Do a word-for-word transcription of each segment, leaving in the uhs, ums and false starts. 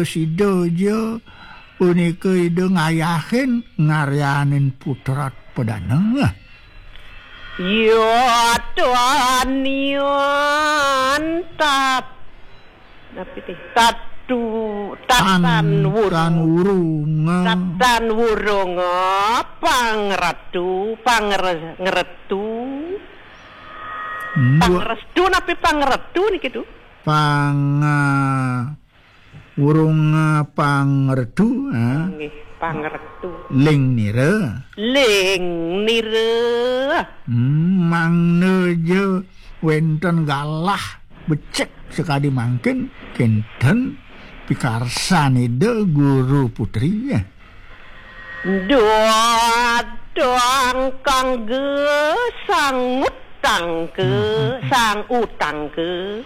sida ja punika Ida ngayahin ngaryanin putra pedana. Ya Tuhan, tat-, napi ti? Tatu-, tatan Tan-, wurung. Tan wurunga. Tatan wurunga pangretu, pangre-, ngretu. Mbok. Pangrestu napi pangretu niki, Tu? Pang-, ah, wurung, ah, pangretu, ah. Nggih, pangretu. Ling nira. Ling nira. Hmm, mangda ja wenten galah becik sakadi mangkin, kinten pikarsan Ida Guru Putri, ya. Datang kangge sang utangke, hmm, sang utangke.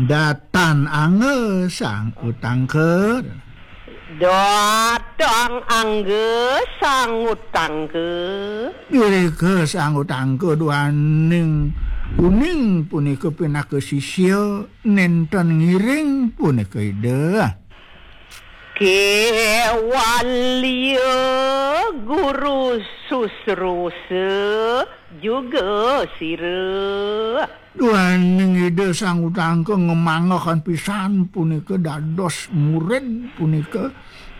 Datang angge sang utangke. Datang angge sang utangke. Irika sang utangke duaning uning punika pinaka sisya nenten ngiring punika Ida. Kewalia guru susrusa juga sira. Duaning Ida Sang Utangka ngemanggehan pisan punika dados murid punika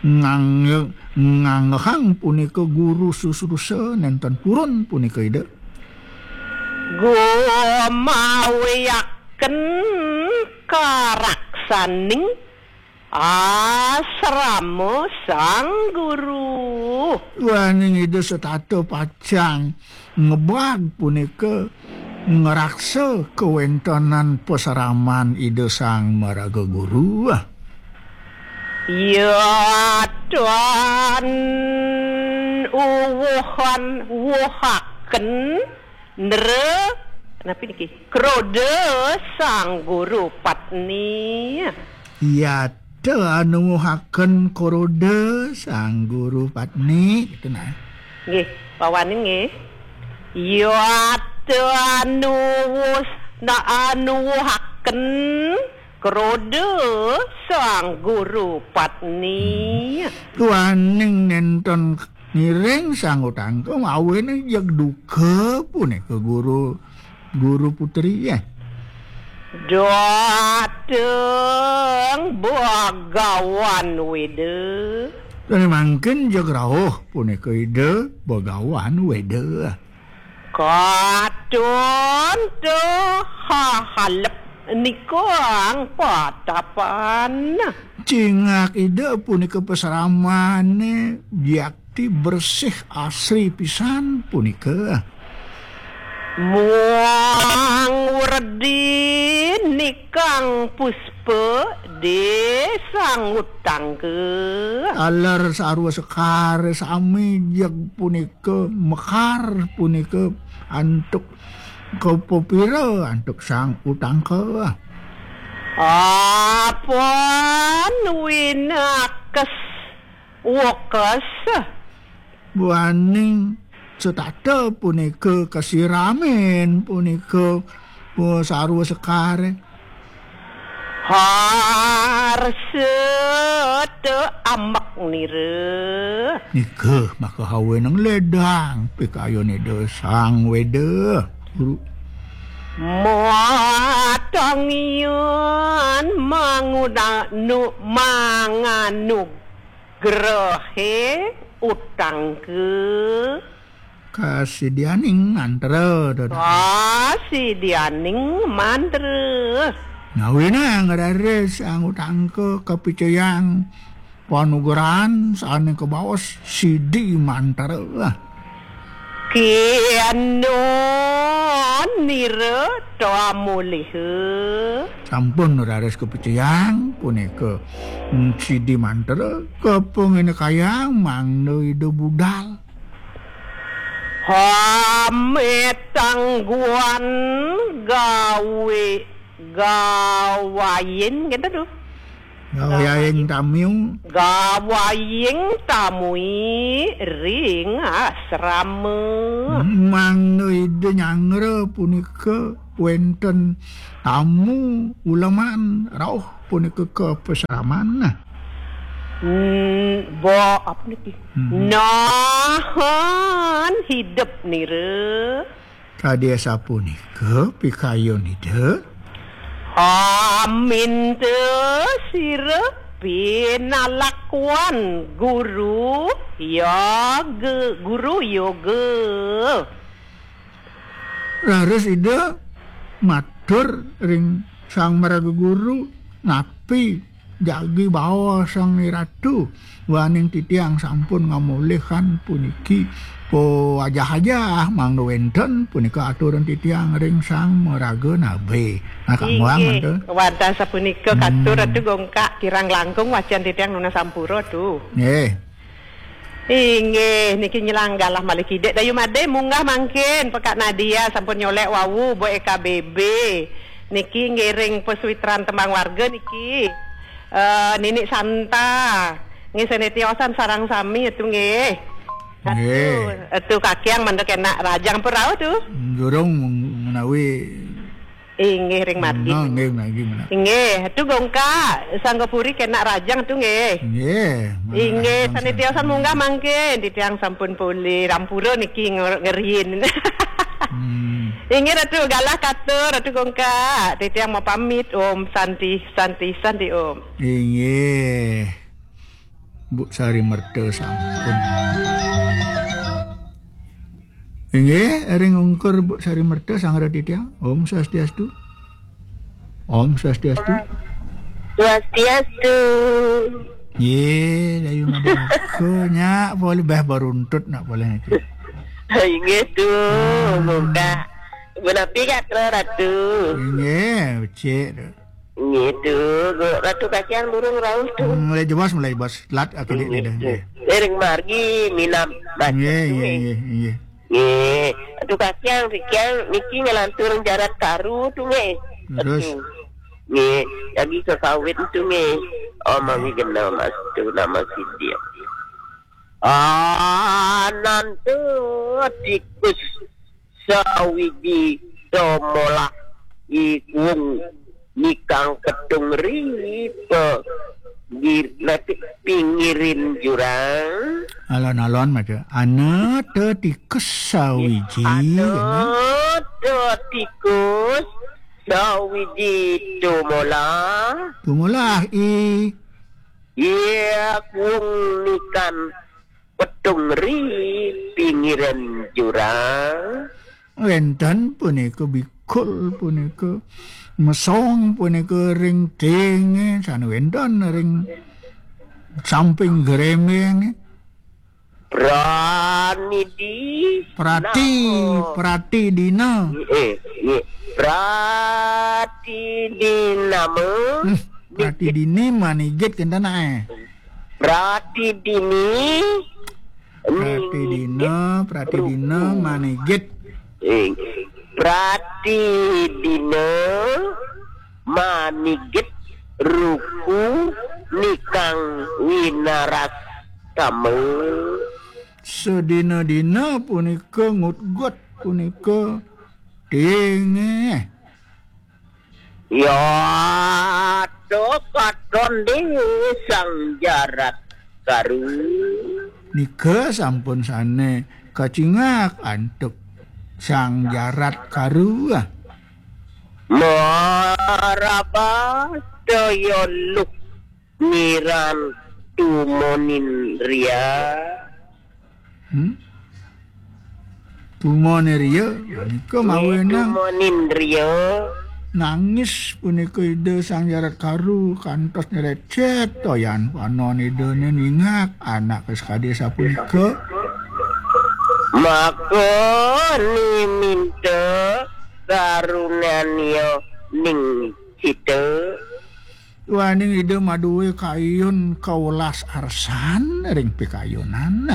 ngangge-, nganggehang punika guru susrusa nenten purun punika Ida. Gumawiaken karaksaning asrama sang guru. Duaning Ida setata pacang ngebag punika ngraksa kawentenan pasraman Ida Sang Maraga Guru. Yatan uwuhan wuhaken nra, napi niki? Kroda sang guru patni. Yata anuwuhaken kroda sang guru patni, gitu nah. Nggih, pawaning nggih. Yata anuwus-, na anuwuhaken kroda sang guru patni. Duaning nenten ngiring Sang Utangka mawinan jeg duka punika guru, guru putri, ya. Dateng Bagawan Weda. Dene mangkin jeg rauh punika Ida Bagawan Weda. Katon te hahalep nikang patapan. Cingak Ida punika pasramane biakti bersih asri pisan punika. Muang werdi nikang puspa desang utangka. Taler sarwa sekar sami jeg punika mekar punika antuk kapapira antuk Sang Utangka. Apan winakes wekes. Buaning setata punika kasiramin punika, oh, sarwa sekare. Harsa te ambek nira. Nika maka haweneng ledang pikayun Ida Sang Weda. Guru. Matangian manguna-, nu-, manganugrahe utangka. Kasidianing mantra, Dada. Kasidianing mantra. Nawinang raris Sang Utangka kapicayang panugrahan sane kabaos sidi mantra. Kianon nira tamuliha. Sampun raris kapicayang punika, mm, sidi mantra kapanginikayang mangda Ida budal. Hametangguan gawe gawayin, gitu tuh. Gawayin tamiu. Gawayin tamui ring asrama. Mangda Ida nyangra punika wenten tamu uleman rauh punika ka pasraman. Hmm, bo, apa niki? Hmm. Nahan hidup nira. Kadi sapunika pikayun Ida. Aminta sira pinalakuan guru yoga, guru yoga. Raris Ida matur ring Sang Maraga Guru, napi jagi baos Sang Ratu, waning titiang sampun ngamolihang puniki. Po ajah-ajah mangda wenten punika aturan titiang ring Sang Maraga Nabe. Nah, kamuang. Inggih, mangda. Wantah sapunika katur. Hmm. Ratu Gongkak, kirang langkung wacan titiang nunas sampura, Tu. Nggih. Inggih, niki nyelang galah malih kidik. Dayu Made munggah mangkin, Pekak Nadia sampun nyolek wau, Bo Eka B B. Niki ngiring pesuitran tembang warga niki. Eh, Ninik Santa. Nggih, sane tiosan sareng sami, Atu nggih. Atu, nggih. Atu kakiang mendek enak rajang pun rauh, Tu. Durung menawi Inggih, ring margi. Nah, nggih, margi menak. Inggih, tu Gongkak, Sanggapuri kenak rajang tu nggih. Nggih, menak. Inggih, rajang sane tiosan munggah mangkin, titiang sampun polih rampura niki ngor-, ngeriin. Hmm. Inggih, Ratu, galah katur, Ratu Gongkak. Titiang mau pamit, Om Santi, Santi, Santi, Om. Inggih. Bu Sari Merta sampun. Inggih, ring ungkur Bu Sari Merta, sangra titiang. Om Swastiastu. Om Swastiastu. Swastiastu. Ye, Dayu Madaka, nyak, boleh bah baruntut nak boleh niki. Inggih tu, hmm, muka. Menapi gatra Ratu? Inggih, becik tu. Nggih, tu, Ratu Kakiang durung rauh tu. Hmm, mulai jebos, mulai jebos. Lat aku dik dah. Nggih. Ring margi minam. Nggih, nggih, nggih, nggih. Nggih. Ratu Kakiang, Kakiang niki ngelantur jarat karu tu nggih. Terus? Ratu. Nggih, lagi ke kawin tu nggih. Oh, mami genah mas tu nama sidik. Ananta tikus sawiji domolah iwung nikang petung ripe gir-, nati pinggirin jurang. Alon-alon maca. Anata tikus sawiji, anata tikus sawiji domolah. Domolah i. Iya, wong nikan petung ri pinggiran jurang. Wénten punika bikul, punika mesong, punika ring tinge, sane wénten ring samping gremeng. Pranidi. Prati, nama. Prati dina. Eh, eh. Prati dinama. Hmm, prati dini manigit kenten ae. Prati dini. Prati dina, prati dina, ruku. Manigit. Eh, prati dina, manigit, ruku, nikang winarastama. Sedina-dina punika ngutgut, punika tinge. Ya, to katon ding Sang Jarat Karu. Nika sampun sane kacingak antuk Sang Jarat Karu. Maraba daya luh niran tumonin ria. Hmm? Tumone ria, nika mawenang. Tumonin ria. Nangis punika Ida Sang Jarat Karu kantos nyerecet toyan panon Idane ningak anake sakadi sapunika. Maka niminta karunania ning kita. Duaning Ida madué kayun kawelas arsan ring pikayunan.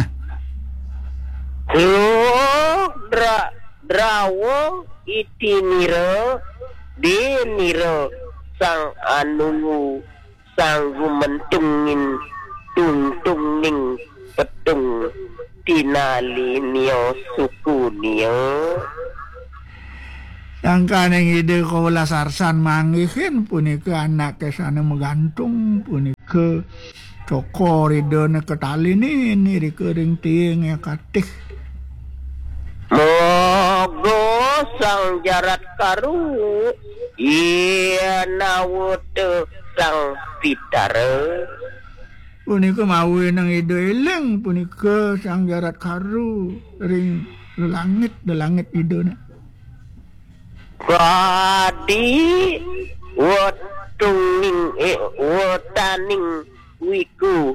Duh, dra-, drawa iti nira, dé nira sang anunggu, sang gumentungin tungtungning petung tinali nia suku nia. Sangkaning Ida kawelas arsan manggihin punika anake sane magantung punika Tokor Ida neka tali nini rika ring tiing akatih. Moga Sang Jarat Karu iya nawuta Sang Pitara. Punika mawinan Ida eling punika Sang Jarat Karu ring lelangit, lelangit Idane. Kadi wetuning, eh, wetaning wiku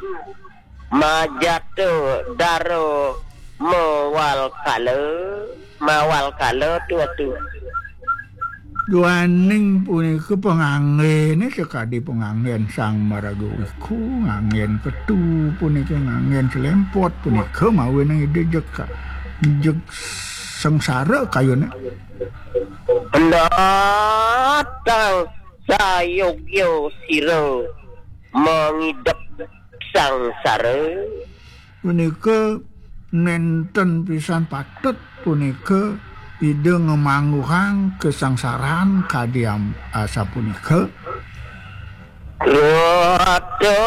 majata dara mawalkala, mawalkala tu atu. Duaning punika panganggene sakadi panganggen Sang Maraga Wiku, nganggen ketu punika, nganggen selempot punika mawinan Ida jeg ka-, jeg sengsara kayune. Pendatang sayogya sira mangidep sangsara. Punika nenten pisan patut punika Ida ngamangguhang kasangsaran kadi am-, asapunika. Rata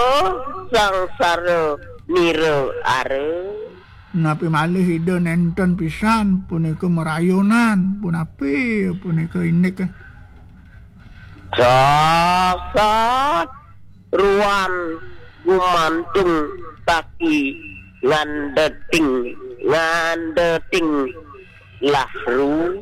sangsara nira ara. Napi malih Ida nenten pisan punika marayunan, punapi punika indik. Sasat ruan gumantung kaki ngandeting, ngandeting lahru.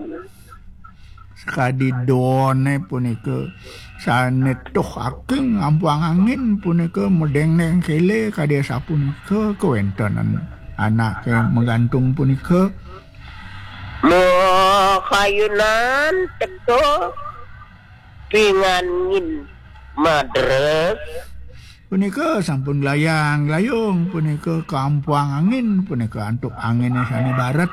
Sakadi done punika sane tuh aking ampuang angin punika medengdeng kele kadi asapunika kawentenan anake magantung punika. Makayunan teka pingangin madres. Punika sampun glayang-glayung, punika kampuang angin, punika antuk angine sane baret.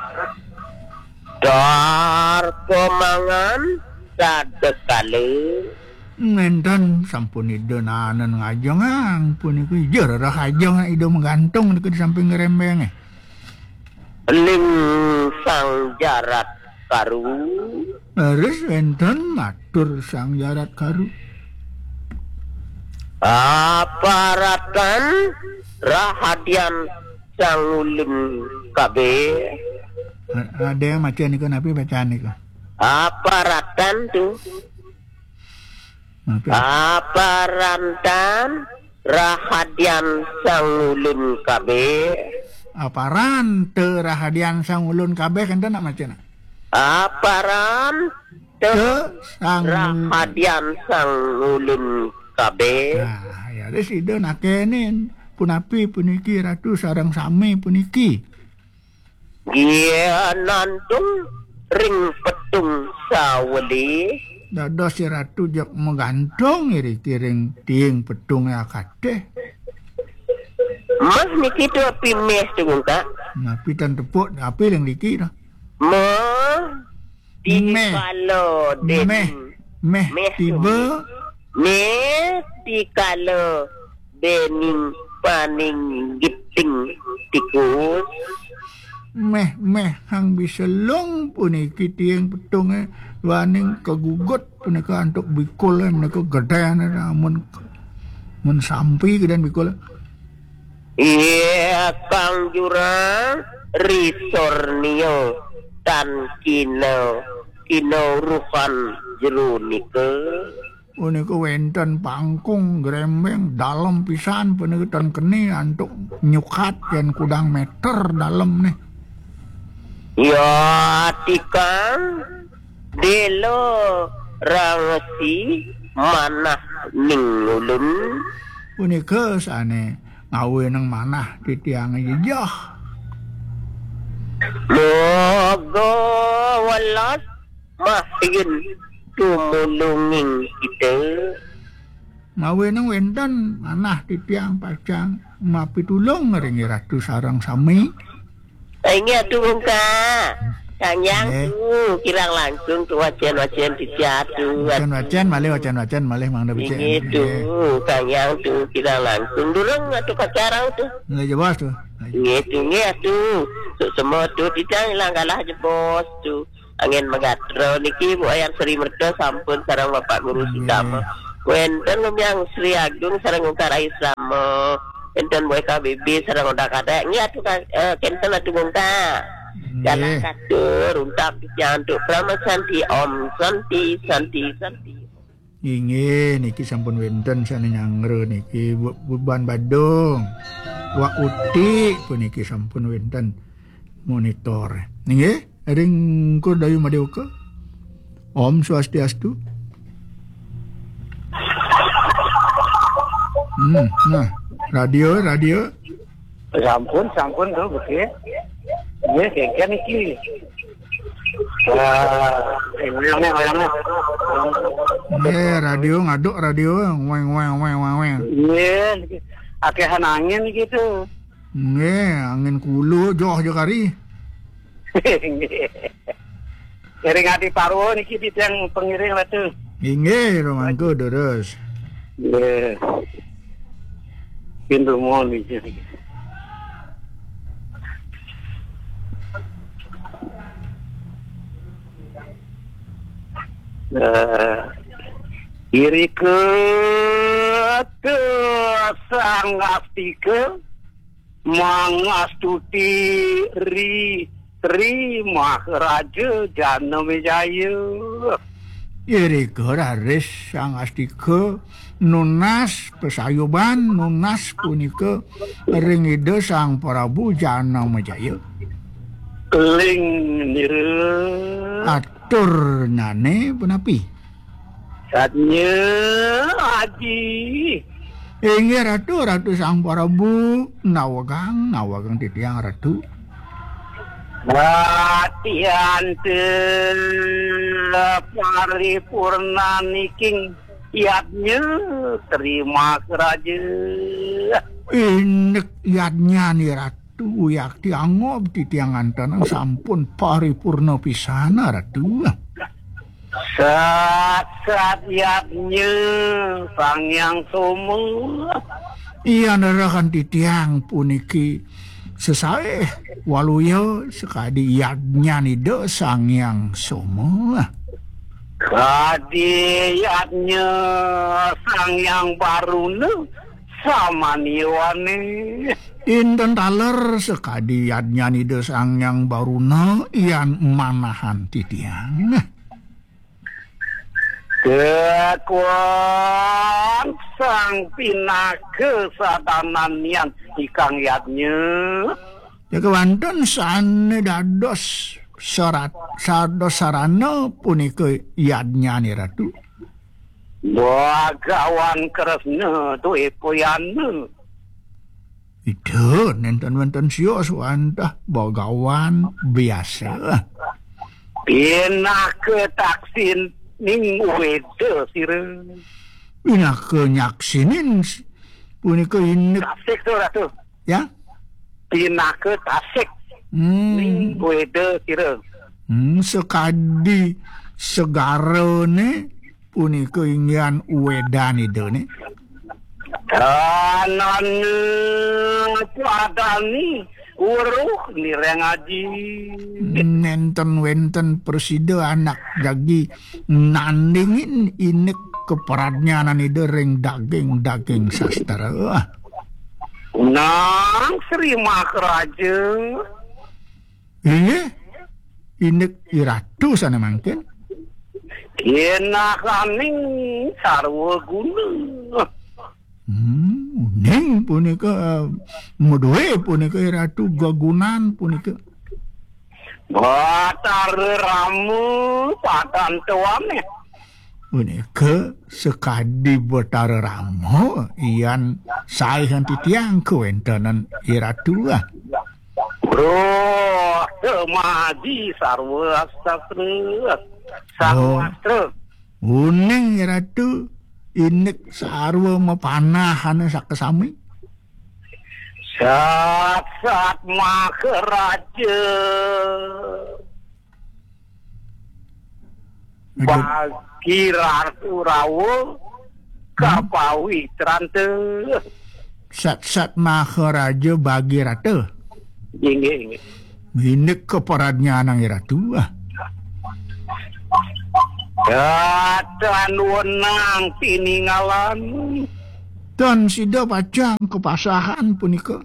Dar pamangan sadekala. Ngenten sampun Ida nanen ngajengang, punika ija rereh ajeng Ida magantung nika di samping ngrembenge. Ling Sang Jarat Karu. Leres wenten matur Sang Jarat Karu. Aparatan rahadian Sang Ulun kabeh. A-, ada yang maca nika, napi bacaan nika? Aparatan tu. Maaf ya. Aparantan rahadian Sang Ulun kabeh. Aparan te rahadian Sang Ulun kabeh, enten nak maca nak? Aparan te Te Sang rahadian Sang Ulun kabeh. Nah, ya, terus Ida nakenin, punapi puniki Ratu sareng sami puniki? Gianantung ring petung saweli. Dados si Ratu jeg magantung iriki ring tiing petunge akatih. Meh niki tu api meh tu, Kak? Napi tan tepuk, api ring niki dah. Meh Meh. Dikala Meh. Dening. Meh. Meh tu tiba. Meh. Meh dikala dening paning giting tikus. Meh, meh, hang biselung puniki tiing petunge, duaning kagugut punika antuk bikule, menika gedene, amun, mun sampi geden bikule. Iya, Kang Jurang, risornia tan kina, kina urusan jero nika. Punika wenten pangkung grembeng dalem pisan, punika tan keni antuk nyukat yen kudang meter dalemne. Ya, tikang dela rangsi manah ning ulun. Punika sane ngawenang manah titiange jejeh. Moga welas mahin tumulunging kita. Ngawenang wenten manah titiang pacang mapitulung ring Ratu sareng sami. Inggih atuh, Kang. Kang Yang Nggih. Tu, kirang langkung tu wacen-wacen titiang atuh. Wacen-wacen malih, wacen-wacen malih, mangda becik. Inggih tu, Nggih. Kang Yang tu, kirang langkung. Durung atuh kacarang tu. Nggih, jebos tu. Inggih tu, inggih atuh. Suksma tu, titiang ilang galah jebos tu. Angin magatra niki, Bu Ayang Sri Merta sampun sareng Bapak Guru Nggih. Sudama. Wenten Lumiang Sri Agung sareng Ungkar Ayu Sudama. Enten W K B B sareng Oda Kadek. Nggih, atuh, Kak, eh, kenten atuh, Bungka. Nggih. Galah katur, untak titiang antuk Parama Santi, Om Santi, Santi, Santi. Inggih, niki sampun wenten sane nyanggra niki, Bu-, Buban Badung. Wak Uti puniki sampun wenten monitor. Inggih, ring Kur Dayu Madewaka. Om Swastiastu. Hmm, nah, radio, radio. Sampun, sampun, tuh, betul. Nggih, kengken niki. Wah, wayangnya, wayangnya. Nggih, radio ngaduk radio, weng, weng, weng, weng, weng. Nggih, akehan angin gitu. Nggih, angin kulu, joh, joh kari. Nggih. Iring adi parwa niki titiang pengiring Ratu. Inggih, rumangku durus. Nggih. Pintu mohon izin. Eh, irika te Sang Astika mangastuti ri Tri Maharaja Janamejaya. Irika raris Sang Astika nunas pasayuban, nunas punika ring Ida Sang Prabu Janamejaya. Ling nira. Aturnyane punapi? Satnya Aji. Inggih Ratu, Ratu Sang Prabu, nawegang, nawegang titiang Ratu. Latihan te paripurna niking yadnya terima raja. Indik yadnyane Ratu, yakti angob titiang antanang sampun paripurna pisan, Ratu. Sat, sat yadnya Sang Hyang Soma. Iya nerahan titiang puniki sesae waluya sakadi yadnyan Ida Sang Hyang Soma. Kadi yadnya Sang Hyang Baruna samaniwane. Inten taler sakadi yadnyan Ida Sang Hyang Baruna yan manahan titiang. Kekuang sang pinaka sadananian ikang yadnya. Ya kewanten sane dados sarat, sados sarana punika yadnyane Ratu. Bagawan Kresna Dwepayana. Ida nenten wenten sios wantah bagawan biasa. Pinaka taksining weda sira. Pinaka nyaksinin s-, punika indik. Tasik to, Ratu. Ya? Pinaka tasik. Hmm. Ning weda sira. Hmm, sakadi segarane punika inggihan wedan Idane. Tanane padani weruh nireng aji. Nenten wenten prasida anak jagi nandingin indik kapradnyanan Ida ring daging-daging sastra. Nang Sri Maharaja. Inggih, indik Iratu sane mangkin. Kinahaning sarwa guna. Hmm, uning punika, eh, maduwe punika Iratu gegunan punika. Batara Rama padan tuane. Punika sakadi Batara Rama, yan saehan titiang kawentenan Iratu, ah. Roh semaji sarwa astra. Sarwa Oh. astra. Uning Ratu, indik sarwa mapanahane sakasami. Sat, sat Maharaja. Aduh. Bagi Ratu Rawa Hmm. kapawitrante. Sat-sat Maharaja Bagirata. Inggih, inggih. Indik kapradnyaning Ratu, ah. Datan wenang tiningalan. Tan sida pacang kapasahan punika.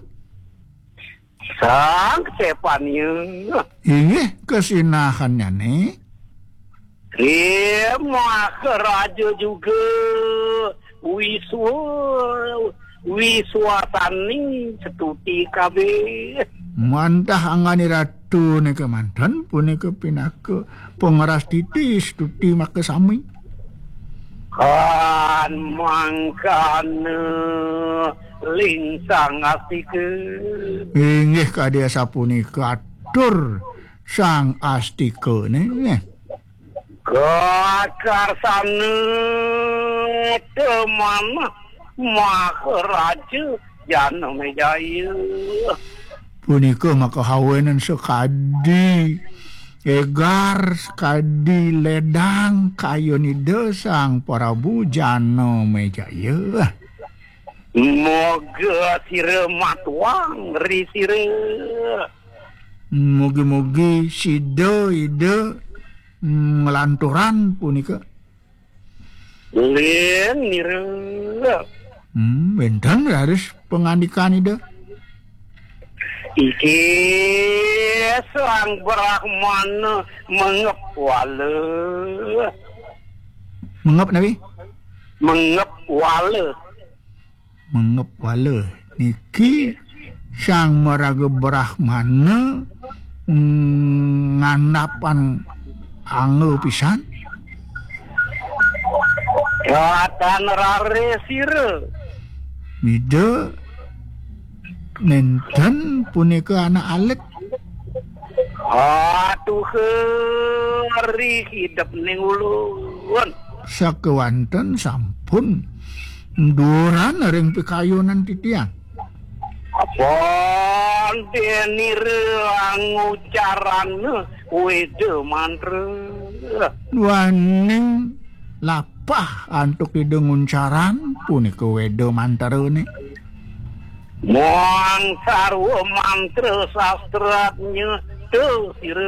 Sang Stepania. Inggih, kasinahannyane. Ri Maharaja juga wiswa, wiswasaning setuti kabeh. Mantah angganing ratu nika manten punika pinaka pangrastiti stuti makasami. Kan mangkana ling Sang Astika. Inggih kadi asapunika atur Sang Astika nggih. Kakarsana temanah Maharaja Janamejaya. Punika makahawenan sakadi egar, sakadi ledang kayun Ida Sang Prabu Janamejaya. Moga sira matuang ri sira. Mugi-mugi sida Ida nglanturan punika. Len nira. Hmm, wenten raris pangandikan Ida. Iki Sang Brahmana mengep wala. Mengep napi? Mengep wala. Mengep wala. Niki Sang Maraga Brahmana, mm, ngandhapan angga pisan. Ratan rare sira. Mida nenten punika anak alit. Atuh, ri hidep ning ulun. Sakewanten sampun duran ring pikayunan titiang. Pondene ring ngucaran weda mantra. Duaning lapah antuk Ida nguncaran punika weda mantrane. Muang sarwa mantra sastranya tu sira.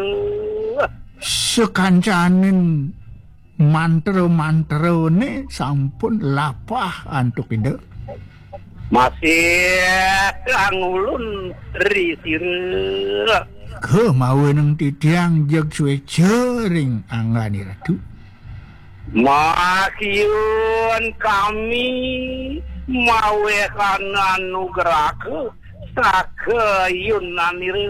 Sakancaning mantra-mantrane sampun lapah antuk Ida. Masih kang ulun ri sira. Kemawinan titiang jeg sueca ring anggane Ratu. Makiun kami mawehana nugraha sakayunanira.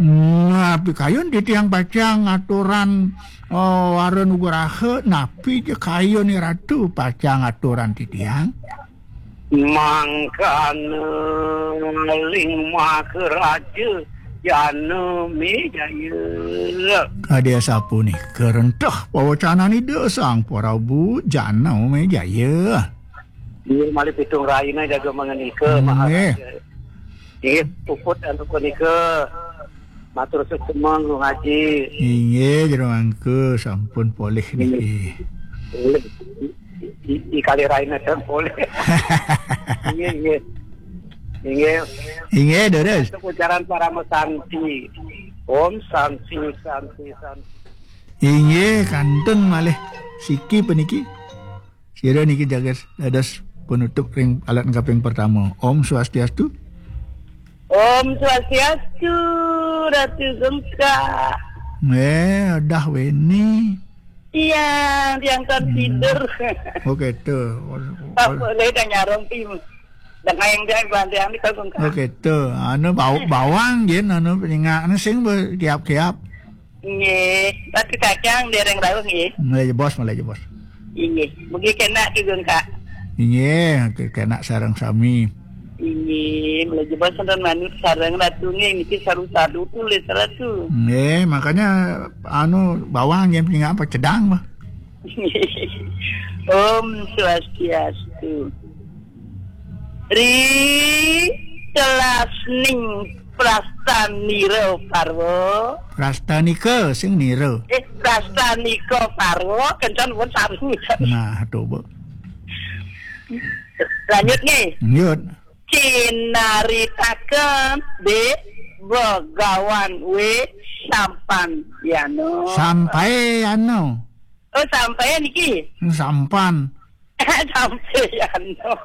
Napi kayun titiang pacang aturan, oh, wara nugraha, napi ja kayun Ratu pacang aturan titiang? Mangkana ling Maharaja Janamejaya. Kadi asapunika rentah pawacanan Ida Sang Prabu Janamejaya. Inggih malih pitung rahina jaga mangenika, Maharaja. Inggih, puput antuk punika. Matur suksma, Gung Aji. Inggih, jero mangku sampun polih niki. Polih. I, i, i kalih rahina ten polih. Inggih, inggih. Inggih. Inggih, deres. Untuk ucaran parama santi. Om santi, santi, santi. Inggih, kantun malih siki puniki. Sira niki jaga dados penutup ring alat kaping pertama. Om Swastiastu. Om Swastiastu, Ratu Gengkak. Eh, dah weni. Iya, tiang kan tidur. Oke, tuh. Apa boleh dah nyarong tim. Dengan yang dia bantu yang di Gengkak. Oke, tuh. Anu bau bawang jen anu penyingak anu sing berkiap-kiap. Nggih, Ratu Kacang dereng rauh nggih. Mulai jebos, mulai jebos. Inggih, mugi kena Ki Gengkak. Inggih, ke-, kena sareng sami. Inggih, mulai jebos wonten manut sareng Ratu nggih niki saru-saru tulis Ratu. Nggih, makanya anu bawang yang punya apa cedang mah. Om Swastiastu. Ri telasning Prastanira Parwa. Prastanika sing nira. Eh, Prastanika Parwa, kencan pun sami. Nah, coba. Lanjut nih. Lanjut. Cinaritaken di Begawan W Sampan Yano. Sampai Yano. Oh, sampai niki. Sampan. Sampai Yano.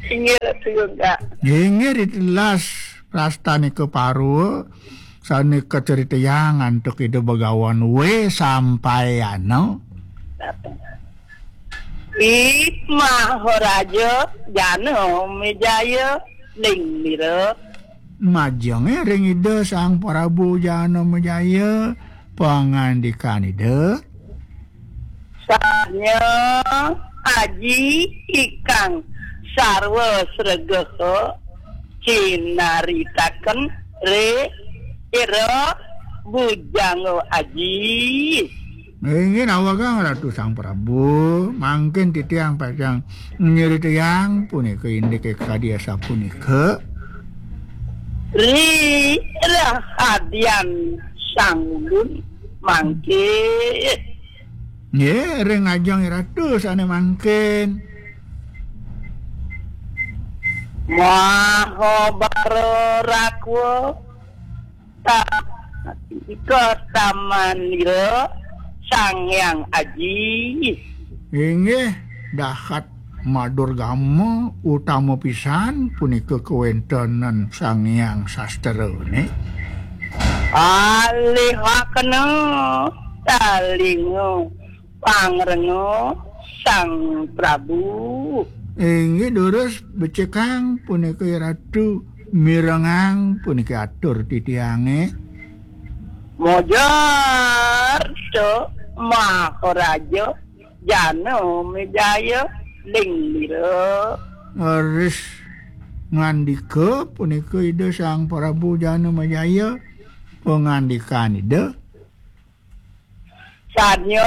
Inggih, Ratu Yoga. Inggih, ditelas prastanika Parwa sane kacaritayang antuk Ida Begawan W sampayana. Ih, Maharaja Janamejaya, ling lira. Majenge ring Ida Sang Prabu Janamejaya, pangandikan Ida. Sanya aji ikang sarwa sregeha cinaritaken ri ira bujangga aji. Inggih nawegang Ratu Sang Prabu, mangkin titiang pacang nyeritayang punika indike kadi asapunika. Ri rahadian sang ulun mangke. Nggih, ring ajeng Ratu sane mangkin. Mahabara rakwa ta-, ika tamanira Sang Hyang Aji. Inggih, dahat madurgama utama pisan punika kawentenan Sang Hyang Sastrane. Alihakena talinga pangrenga Sang Prabu. Inggih durus becikang punika Ratu, mirengang punika atur titiange. Mojar to Maharaja Janamejaya ling lira. Leres ngandika punika Ida Sang Prabu Janamejaya, pangandikan Ida. Sanya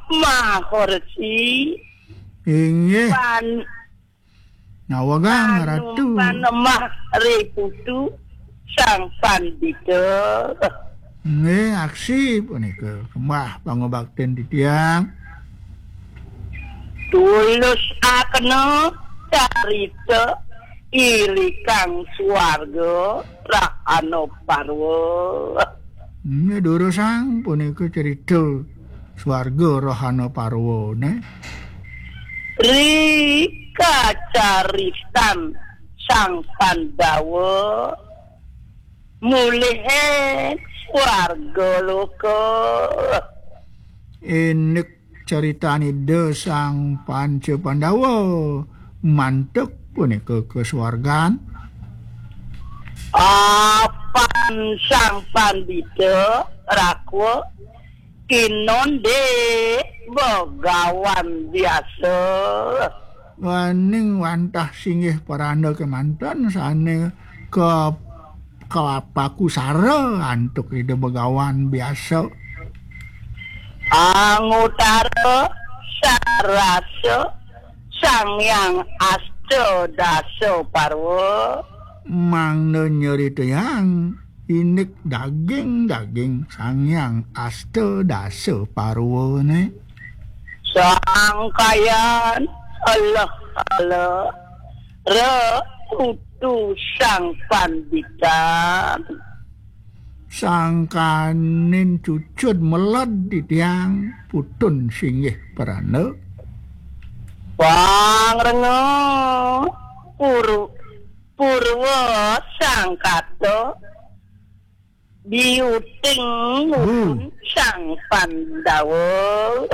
Mahorsi. Inggih. Pan-, nawegang Ratu. Panemah ri putu Sang Pandita. Nggih, aksi punika sembah pangubaktin titiang. Tulus akena carita irikang swarga Rahana Parwa. Nggih, durusang punika cerita swarga Rahana Parwa, neh. Ri kacaritan Sang Pandawa mulihe swarga loka. Indik caritan Ida Sang Panca Pandawa mantuk punika ka swargan. Apan Sang Pandita rakwa inonde begawan biasa. Waning wantah singgih paranda kemanten sane ka, kapakusara antuk Ida Begawan biasa. Angutara sarasa Sang Hyang Asta Dasa Parwa. Mangda nyeritayang indik daging-daging Sang Hyang Asta Dasa Parwane. Sangkayan eleh-eleh re putu Sang Panditan. Sangkaning cucud meled titiang putun singgih prana. Pangrenga puru-, purwa sangkata biuting Hmm. Sang Pandawa.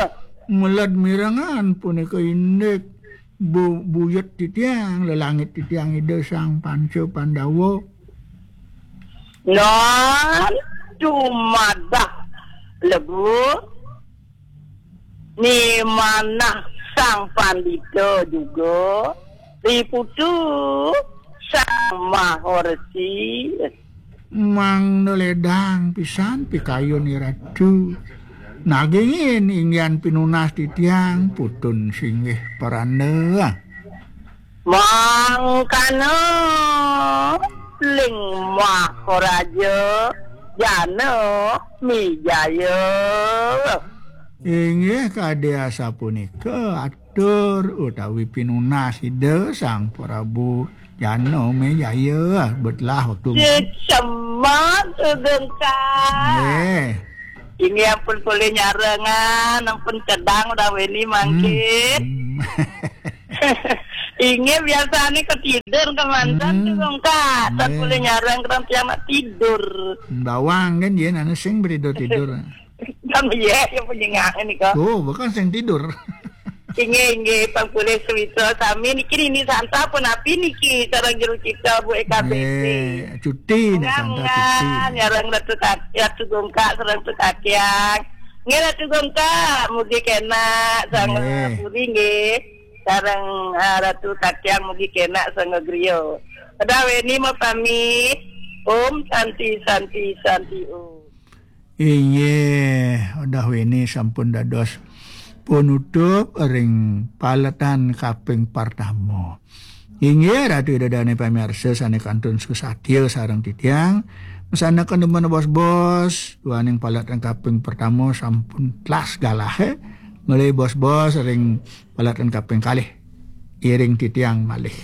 Meled mirengan punika indik bu-, buyut titiang, lelangit titiang Ida Sang Panca Pandawa. Nan tumadah lebu ni manah Sang Pandita juga, diputu Sang Mahorsi. Mangda ledang pisan pikayun Iratu. Nagingin inggihan pinunas titiang putun singgih prana. Mangkana ling Maharaja Janamejaya. Inggih kadi asapunika atur utawi pinunas Ida Sang Prabu Janamejaya. Betlah waktu. Sesemat Sugeng Kang. Nggih. Ini ampun polih nyarengan, ampun cedang udah weni mangkin. Hmm. Hmm. Inggih, biasane ketidur kemanten, hmm, Tugung Kak. Tan, nggih, boleh nyarang ketiang nak tidur. Bawang kan, yen anu sing berido tidur. Kan, iya, ya, penyengak ini kok. Oh, bukan sing tidur. Inggih, inggih, pang boleh sewita sami niki, ini Santa pun api niki, sareng jero kita, Bu Eka B B. Nggih, cuti nek Santa, cuti. Nyarang Ratu Kat-, Ratu Gongkak, sareng Ratu Katiang. Nggih, Ratu Gongkak, mugi kenak, sareng, nggih, Puri nggih. Sareng, ah, Ratu Katiang mugi kenak, sareng griya. Pada weni mau pamit. Om Santi, Santi, Santi Om. Inggih, udah weni sampun dados penutup ring paletan kaping pertama. Inggih, Ratu Ida Dane pamirsa sane kantun susatia sareng titiang. Masanaken demen bos-bos, duaning paletan kaping pertama sampun telas galahe. Malih bos-bos ring paletan kaping kalih. Iring titiang malih.